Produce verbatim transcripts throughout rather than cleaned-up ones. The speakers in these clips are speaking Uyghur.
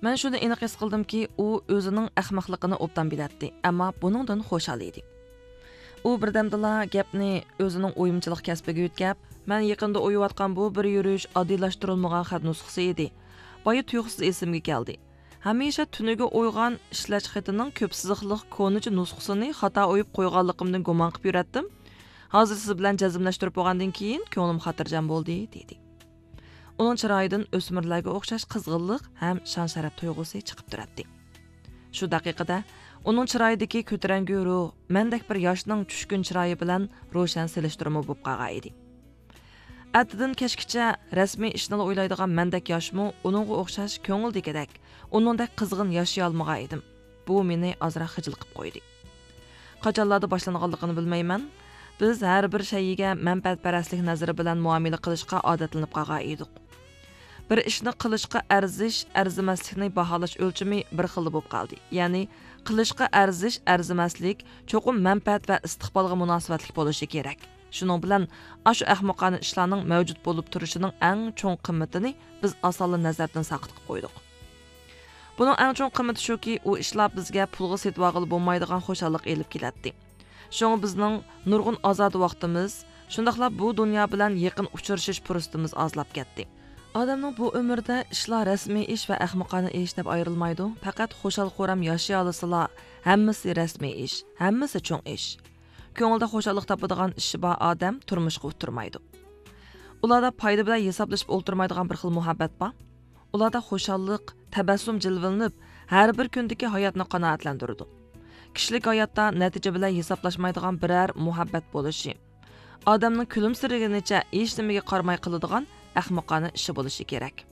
مەن شۇنى ئېنىق ھېس قىلدىمكى، ئۇ ئۆزىنىڭ ئەخمەقلىقىنى ئوبدان بىلەتتى، ئەمما بۇنىڭدىن خۇشال ئىدى. ئۇ بىردەمدىلا گەپنى ئۆزىنىڭ ئويمىچىلىق كەسپىگە يۆتكەپ، مەن يېقىندا ئويۇۋاتقان بۇ بىر يۈرۈش ئاددىيلاشتۇرۇلمىغان خەت نۇسخىسى ئىدى. بايا تۇيۇقسىز ئېسىمگە كەلدى. ھەمىشە تۈنۈگە ئويغان ئىشلەش خېتىنىڭ كۆپ سىزىقلىق كونىچە نۇسخىسىنى خاتا ئويۇپ قويغانلىقىمدىن گۇمان قىلىپ يۈرەتتىم. ھازىر سىز بىلەن جەزملەشتۈرۈپ بولغاندىن كېيىن، كۆڭلۈم خاتىرجەم بولدى، دېدى. ئۇنىڭ چىرايىدىن ئۆسمۈرلەرگە ئوخشاش قىزغىنلىق ھەم شان-شەرەپ تۇيغۇسى چىقىپ تۇراتتى. شۇ دەقىقىدە ئۇنىڭ چىرايىدىكى كۆتۈرەڭگۈ روھ مەندەك بىر ياشنىڭ چۈشكۈن چىرايى بىلەن روشەن سېلىشتۇرما بولۇپ قالغان ئىدى. ئەتىدىن كەچكىچە رەسمىي ئىشنىلا ئويلايدىغان مەندەك ياشمۇ ئۇنىڭغا ئوخشاش كۆڭۈلدىكىدەك، ئۇنىڭدەك قىزغىن ياشىيالمىغان ئىدىم. بۇ مېنى ئازراق خىجىل قىلىپ قويدى. قاچانلاردا باشلانغانلىقىنى بىلمەيمەن. بىز ھەر بىر شەيئىگە مەنپەئەتپەرەسلىك نەزىرى بىلەن مۇئامىلە قىلىشقا ئادەتلىنىپ قالغان ئىدۇق. بىر ئىشنى قىلىشقا ئەرزىش، ئەرزىمەسلىكنى باھالاش ئۆلچىمى بىر خىللا بولۇپ قالدى. يەنى، قىلىشقا ئەرزىش، ئەرزىمەسلىك چوقۇم مەنپەئەت ۋە ئىستىقبالغا مۇناسىۋەتلىك بولۇشى كېرەك. شۇنىڭ بىلەن، ئاشۇ ئەخمىقانە ئىشلارنىڭ مەۋجۇت بولۇپ تۇرۇشىنىڭ ئەڭ چوڭ قىممىتىنى بىز ئاسانلا نەزەردىن ساقىت قىلىپ قويدۇق. بۇنىڭ ئەڭ چوڭ قىممىتى شۇكى، ئۇ ئىشلار بىزگە پۇلغا سېتىۋالغىلى بولمايدىغان خۇشاللىق ئېلىپ كېلەتتى. شۇڭا بىزنىڭ نۇرغۇن ئازادە ۋاقتىمىز، شۇنداقلا بۇ دۇنيا بىلەن يېقىن ئۇچرىشىش پۇرسىتىمىز ئازلاپ كەتتى. ئادەمنىڭ بۇ ئۆمرىدە ئىشلار رەسمىي ئىش ۋە ئەخمىقانە ئىش دەپ ئايرىلمايدۇ. پەقەت خۇشال-خۇرام ياشىيالىسىلا، ھەممىسى رەسمىي ئىش، ھەممىسى چوڭ ئىش. كۆڭلىدە خۇشاللىق تاپىدىغان ئىشى بار ئادەم تۇرمۇشقا ئۇتتۇرمايدۇ. ئۇلاردا پايدا بىلەن ھېسابلىشىپ ئولتۇرمايدىغان بىر خىل مۇھەببەت بار. ئۇلاردا خۇشاللىق، تەبەسسۇم جىلۋىلىنىپ، ھەر بىر كۈندىكى ھاياتنى قانائەتلەندۈرىدۇ. كىشىلىك ھاياتتا نەتىجە بىلەن ھېسابلاشمايدىغان بىرەر مۇھەببەت بولۇشى، ئادەمنىڭ كۈلۈمسىرىگىنىچە ھېچنېمىگە قارىماي قىلىدىغان ئەخمىقانە ئىشى بولۇشى كېرەك.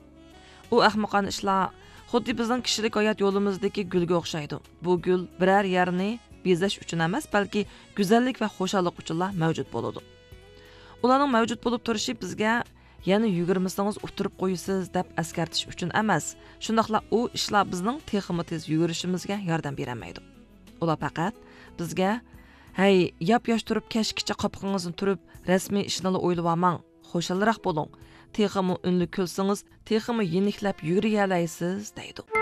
ئۇ ئەخمىقانە ئىشلار خۇددى بىزنىڭ كىشىلىك ھايات يولىمىزدىكى گۈلگە ئوخشايدۇ. بۇ گۈل بىرەر يەرنى بېزەش ئۈچۈن ئەمەس، بەلكى گۈزەللىك ۋە خۇشاللىق ئۈچۈنلا مەۋجۇت بولىدۇ. ئۇلارنىڭ مەۋجۇت بولۇپ تۇرۇشى بىزگە يەنە يۈگۈرمىسىڭىز ئۇتتۇرۇپ قويىسىز دەپ ئەسكەرتىش ئۈچۈن ئەمەس، شۇنداقلا ئۇ ئىشلار بىزنىڭ تېخىمۇ تېز يۈگۈرۈشىمىزگە ياردەم بېرەلمەيدۇ. ئۇلار پەقەت بىزگە، ھەي، ياپياش تۇرۇپ كەچكىچە قاپىقىڭىزنى تۈرۈپ، رەسمىي ئىشنىلا ئويلىۋالماڭ، خۇشالراق بولۇڭ، تېخىمۇ ئۈنلۈك كۈلسىڭىز، تېخىمۇ يېنىكلەپ يۈگۈرەلەيسىز، دەيدۇ.